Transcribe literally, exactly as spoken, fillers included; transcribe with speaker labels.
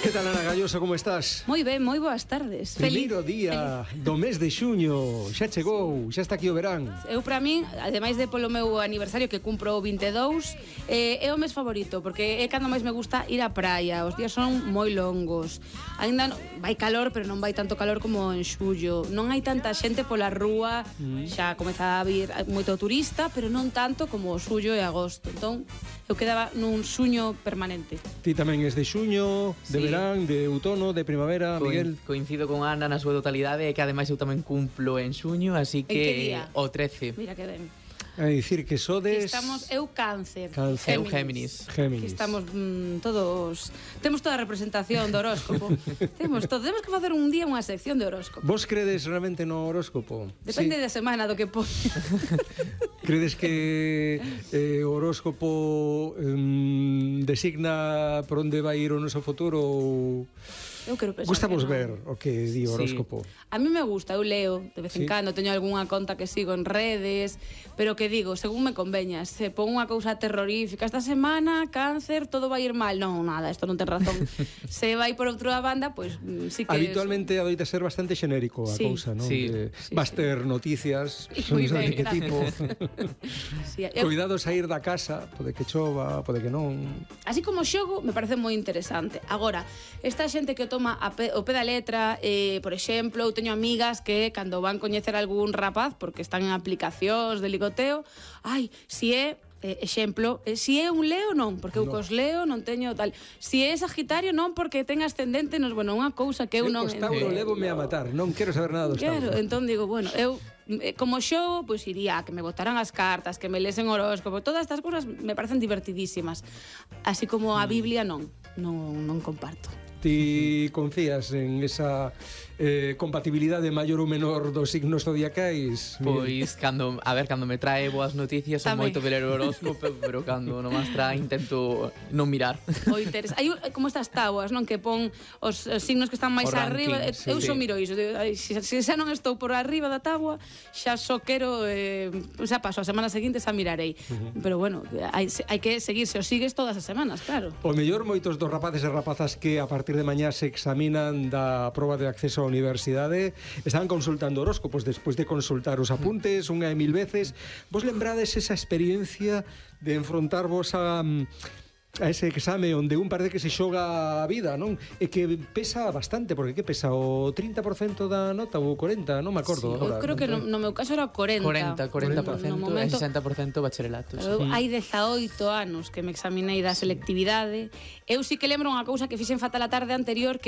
Speaker 1: Que tal, Ana Galloso, como estás?
Speaker 2: Moi ben, moi boas tardes.
Speaker 1: Primeiro
Speaker 2: Feliz,
Speaker 1: día
Speaker 2: feliz.
Speaker 1: do mes de xuño, xa chegou, xa está aquí o verán.
Speaker 2: Eu, para min, ademais de polo meu aniversario que cumpro o vinte e dous, eh, é o mes favorito, porque é cando máis me gusta ir á praia. Os días son moi longos. Ainda non, vai calor, pero non vai tanto calor como en xullo. Non hai tanta xente pola rúa, mm. xa comeza a vir moito turista, pero non tanto como o xullo e agosto. Entón, eu quedaba nun xuño permanente.
Speaker 1: Ti tamén és de xuño, de
Speaker 3: Sí.
Speaker 1: verán, de outono, de primavera,
Speaker 3: Coin,
Speaker 1: Miguel.
Speaker 3: Coincido con Ana na súa totalidade e que ademais eu tamén cumplo en xuño, así
Speaker 2: En que
Speaker 3: que
Speaker 2: día?
Speaker 3: o trece.
Speaker 2: Mira que ben.
Speaker 1: É dicir que
Speaker 2: Que
Speaker 1: sodes...
Speaker 2: estamos, eu cáncer.
Speaker 1: Cáncer.
Speaker 3: Eu Géminis.
Speaker 1: Géminis.
Speaker 2: Que estamos mm, todos... Temos toda a representación do horóscopo. Temos todo. Temos que facer un día unha sección de horóscopo.
Speaker 1: Vos credes realmente no horóscopo?
Speaker 2: Depende
Speaker 1: Sí.
Speaker 2: da semana do que pone.
Speaker 1: Credes que eh, o horóscopo eh, designa por onde vai ir o noso futuro ou...
Speaker 2: Eu quero pensar
Speaker 1: Gustamos
Speaker 2: que non.
Speaker 1: ver o que di o
Speaker 3: Sí.
Speaker 1: horóscopo.
Speaker 2: A mí me gusta, eu leo de vez en
Speaker 1: Sí.
Speaker 2: cando, teño algunha conta que sigo en redes, pero que digo, según me conveña, se pon unha cousa terrorífica esta semana, cáncer, todo vai ir mal. Non, nada, isto non ten razón. Se vai por outra banda, pois pues, sí que...
Speaker 1: Habitualmente adoita ser bastante xenérico a
Speaker 2: Sí.
Speaker 1: cousa, non?
Speaker 3: Sí.
Speaker 1: Que
Speaker 2: Sí,
Speaker 1: vas
Speaker 2: sí.
Speaker 1: ter noticias,
Speaker 2: Moi
Speaker 1: non sei
Speaker 2: ben,
Speaker 1: de que
Speaker 2: gracias.
Speaker 1: tipo.
Speaker 2: Sí, eu,
Speaker 1: Cuidado sair da casa, pode que chova, pode que non.
Speaker 2: así como xogo, me parece moi interesante. Agora, esta xente que o toma a pe, o pé da letra, eh, por exemplo, eu teño amigas que cando van coñecer algún rapaz, porque están en aplicacións de ligoteo, ai, si é Eh, exemplo, eh, si é un Leo non, porque eu
Speaker 1: No.
Speaker 2: cos Leo non teño tal. Si é Sagitario non, porque ten ascendente nos, bueno, unha cousa que eu
Speaker 1: Eu
Speaker 2: non
Speaker 1: cos Tauro
Speaker 2: entendo.
Speaker 1: lévome a matar, non quero saber nada dos
Speaker 2: Claro,
Speaker 1: Tauro.
Speaker 2: entón digo, bueno, eu eh, como xogo, pois iría a que me botaran as cartas, que me lesen horóscopo, todas estas cousas me parecen divertidísimas. Así como a Biblia non, non, non comparto.
Speaker 1: Ti confías en esa eh, compatibilidade maior ou menor dos signos zodiacais? Miguel?
Speaker 3: Pois, cando, a ver, cando me trae boas noticias son
Speaker 2: Tamén.
Speaker 3: moito de ler o horóscopo, pero cando non as trae intento non mirar.
Speaker 2: O interés. Hai un- como estas táboas, non, que pon os, os signos que están máis
Speaker 3: O ranking,
Speaker 2: arriba.
Speaker 3: sí.
Speaker 2: Eu só
Speaker 3: Sí.
Speaker 2: miro iso, digo, ai, se, se xa non estou por arriba da táboa, xa só quero eh, xa paso a semana seguinte xa mirarei. Uh -huh. Pero bueno, hai, hai que seguir, se o sigues todas as semanas, claro.
Speaker 1: O mellor moitos dos rapaces e rapazas que a partir de mañá se examinan da proba de acceso á universidade están consultando horóscopos despois de consultar os apuntes unha e mil veces. Vos lembrades esa experiencia de enfrontarvos a a ese exame onde un parece que se xoga a vida, non? E que pesa bastante, porque que pesa o trinta por cento da nota ou o corenta, non me acordo.
Speaker 2: Sí,
Speaker 1: agora,
Speaker 2: eu creo que no, no meu caso era corenta.
Speaker 3: cuarenta, cuarenta por ciento
Speaker 2: No
Speaker 3: e
Speaker 2: momento-
Speaker 3: sesenta por ciento bacharelato.
Speaker 2: Pero eu
Speaker 3: Sí.
Speaker 2: hai dezaoito anos que me examinei da selectividade. Eu sí que lembro unha cousa que fixen fatal a tarde anterior, que